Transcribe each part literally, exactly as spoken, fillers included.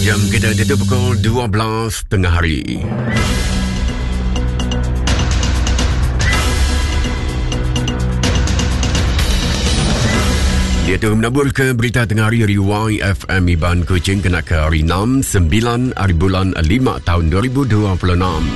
Jam kita itu pukul dua belas tengah hari. Dia tu menabur ke berita tengah hari dari Y F M Iban Kuching kena ke hari enam, sembilan hari bulan lima tahun dua ribu dua puluh enam.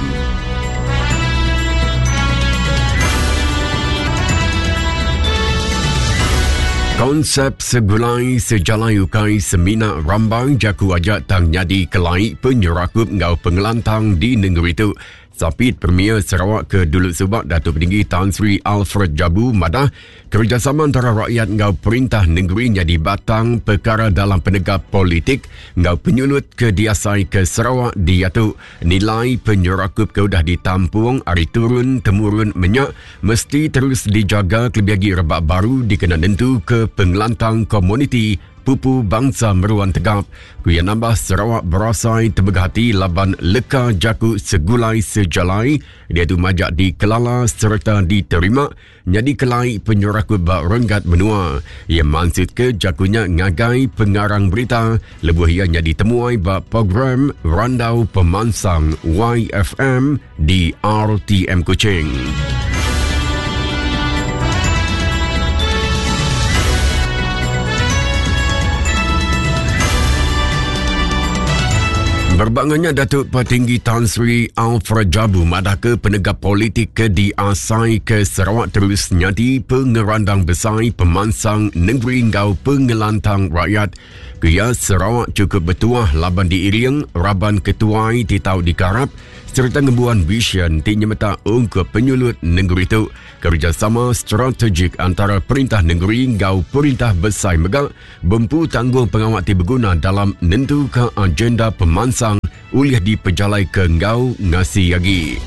Konsep segulai sejalai ukai semina rambang jaku ajak tang nyadi kelai penyerakup ngau pengelantang di negeri itu. Sapit Premier Sarawak ke dulu subak Datuk Petinggi Tan Sri Alfred Jabu madah kerjasama antara rakyat ngau perintah negeri jadi batang perkara dalam penegak politik ngau penyulut ke diasai ke Sarawak diatu nilai penyerakup ke udah ditampung ari turun temurun menyak mesti terus dijaga kelebih lagi rebak baru dikena nentu ke pengelantang komuniti pupu bangsa meruan tegap. Kuya nambah Sarawak berasai temegah hati laban leka jaku segulai sejalai dia tu majak dikelala serta diterima jadi kelai penyerakup bak renggat menua. Ia maksud ke jakunya ngagai pengarang berita lebuh ia jadi temuai bak program Randau Pemansang Y F M di R T M Kuching. Berbangannya Datuk Petinggi Tan Sri Alfred Jabu madah ke penegak politik ke diasai ke Sarawak terus nyadi pengerandang besar pemansang negeri ngau pengelantang rakyat. Kia Sarawak cukup bertuah laban diiring raban ketuai ti tau dikarap serta ngembuan vision ti nyemetak ungkup penyulut negeri itu. Kerjasama strategik antara perintah negeri ngau perintah besar megak bempu tanggung pengawak ti berguna dalam nentu ke agenda pemansang ulih dipejalai ke ngau ngasi lagi.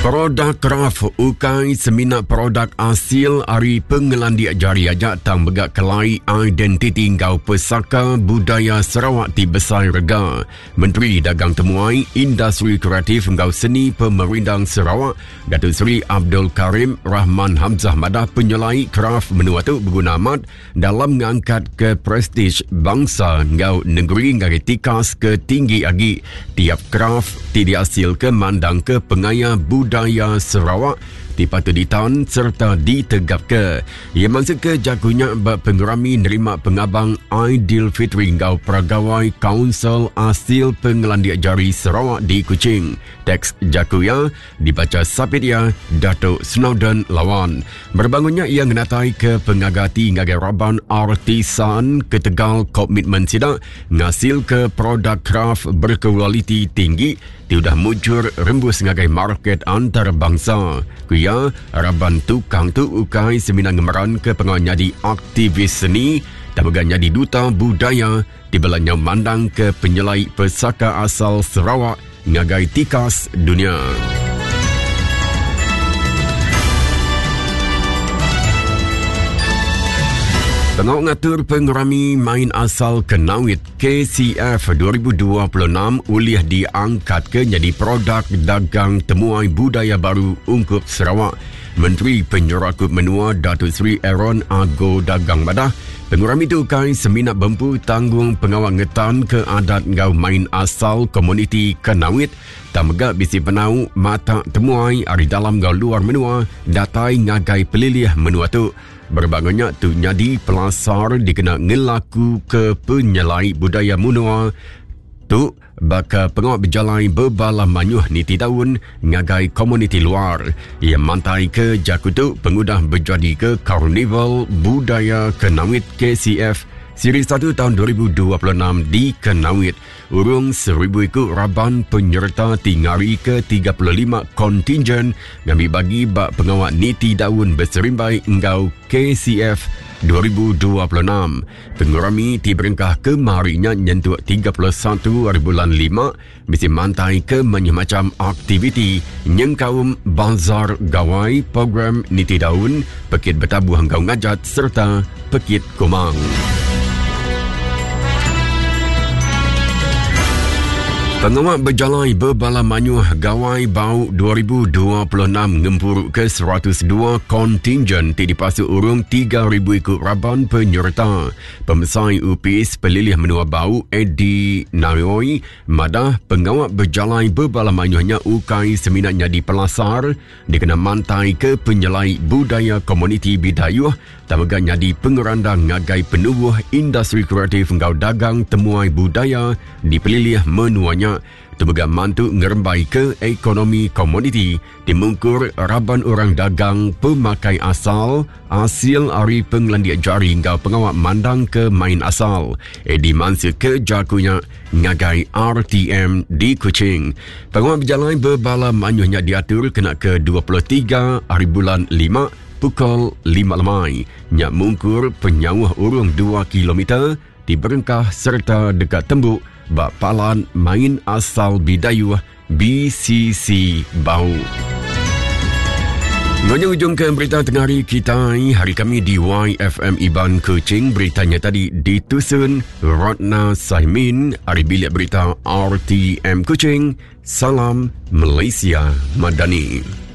Produk kraf ukai semina produk asil ari pengelandik jari ajak tang megak kelai identiti ngau pesaka budaya Sarawak ti besai rega. Menteri Dagang Temuai, Industri Kreatif ngau Seni Pemerindang Sarawak, Datuk Seri Abdul Karim Rahman Hamzah madah penyelai kraf menua tu berguna amat dalam ngangkat ke prestij bangsa ngau negeri ngagai tikas ke tinggi agi. Tiap kraf ti diasil ke mandang ke pengaya budaya budaya Sarawak dipatut ditan serta ditegap ke. Ia maksud ke jagunya bak pengerami nerima pengabang Aidilfitri ngau Peragawai Kaunsil Asil Pengelandik Jari Sarawak di Kuching. Teks jagunya dibaca sapit ia Datuk Snowden Lawan. Berbangunnya ia ngenatai ke pengagati ngagai raban artisan ketegal komitmen sidak ngasil ke produk kraf berkualiti tinggi ti udah mujur rembus ngagai market antarabangsa. Kuya, raban tukang tu ukai semina ngemeran ke pengawal nyadi aktivis seni dan juga nyadi duta budaya di belanya mandang ke penyelai pesaka asal Sarawak ngagai tikas dunia. Pengawal ngatur pengerami main asal Kenawit K C F dua ribu dua puluh enam ulih diangkat ke jadi produk dagang temuai budaya baru ungkup Sarawak. Menteri Penyerakup Menua Datuk Seri Aaron Ago Dagang madah pengerami itu kai semina bempu tanggung pengawal ngetan ke adat ngau main asal komuniti Kenawit dan megak bisi penau mata temuai ari dalam ngau luar menua datai ngagai pelilih menua tu. Berbangunnya tu nyadi pelasar dikena ngelaku ke penyelai budaya menua tu baka pengawal berjalai berbala manyuh niti tahun ngagai komuniti luar. Ia mantai ke jaku tu pengudah berjadi ke Karnival Budaya Kenawit K C F Siri satu tahun dua ribu dua puluh enam di Kenawit. Urung seribu ikut raban penyerta tingari ke tiga puluh lima kontingen ngambil bagi bak pengawal niti daun berserimbai engkau K C F dua ribu dua puluh enam. Pengurami ti berengkah kemarinya nyentuk tiga puluh satu hari bulan lima mesti mantai ke macam aktiviti nyengkaum bazar gawai, program niti daun, pekit bertabuh engkau ngajat serta pekit komang. Pengawak berjalai berbala manyuh Gawai Bau dua ribu dua puluh enam ngempuru ke seratus dua kontingen ti dipasuk urung tiga ribu ikut raban penyerta. Pemesai U P S Pelilih Menua Bau Eddie Nayoi madah pengawak berjalai berbala manyuhnya ukai seminat nyadi pelasar dikena mantai ke penyelai budaya komuniti Bidayuh tamaga nyadi pengerandang ngagai penubuh industri kreatif ngau dagang temuai budaya di Pelilih Menuanya. Temega mantu ngerembai ke ekonomi komuniti dimungkur raban orang dagang pemakai asal hasil ari penglandiak jari ngau pengawak mandang ke main asal. Eddie Mansur ke jakunya ngagai R T M di Kuching. Pengawak berjalan berbala manyuhnya diatur kena ke dua puluh tiga hari bulan lima pukul lima lemai. Nyak mungkur penyauh urung dua kilometer di berengkah serta dekat tembuk bak palan main asal Bidayuh B C C Bau. Nyonya ujung ke berita tengah hari kita hari kami di Y F M Iban Kuching. Beritanya tadi ditusun Ratna Saimin hari bilik berita R T M Kuching. Salam Malaysia Madani.